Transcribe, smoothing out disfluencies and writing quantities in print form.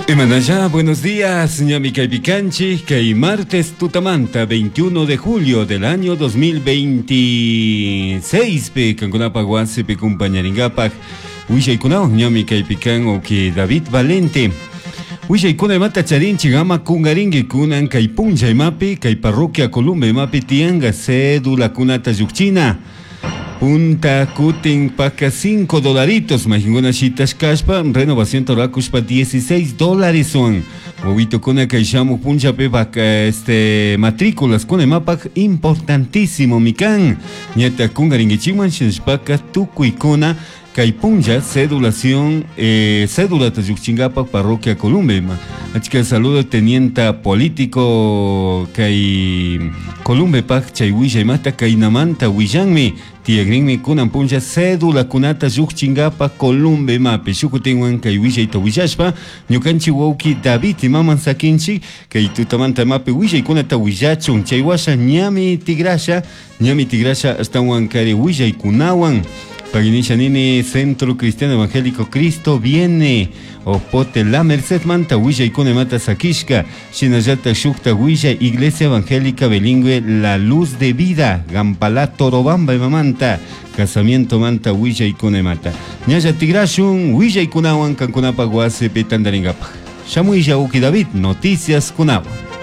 Imanalla, buenos días, ñami kaypi kanchik, kay martes tutamanta 21 de julio del año 2026 pi kankunapak wasipi kumpañarinkapak willaykunawan ñami kaypi kan uki David Valente. Willaykuna imata charinchik ama kungarinki kunan kay punlla imapi kay parroquia Columba imapi tiyanka cedulakunata llukchina. Punta kutin paka 5 dolaritos mayqinkuna shitashkashpa renovación rurakushpa 16 dólareswan wawitukuna kay shamuq punllapi este matrículaskuna imapaq importantísimomi kan ñataq kunkarinkichikman shinashpaka tukuykuna kay punlla cedulación eh, cédulata llukchinkapak parroquia Columba ima achka saludo teniente político kay Columbepak chay willaymanta kaynamanta willanmi tiyakrinmi kunan punlla cédulakunata llukchinkapak Columbe imapi shukutinwan kay willayta willashpa ñukanchik wawki David imaman sakinchik kay tutamanta imapi willaykunata willachun chay washa ñami tigrasha ñami tigrasha ashtawan kari willaykunawan. Paginisha nini Centro Cristiano Evangélico Cristo viene Opote La Merced manta willaykuna imata sakishka shinallata shukta willay Iglesia Evangélica Bilingüe La Luz de Vida Gampalá Torobamba imamanta casamiento manta willaykuna imata ñalla tigrashun willaykunawan kankunapak wasipi tantarinkapaj shamuylla uki David noticias kunawan.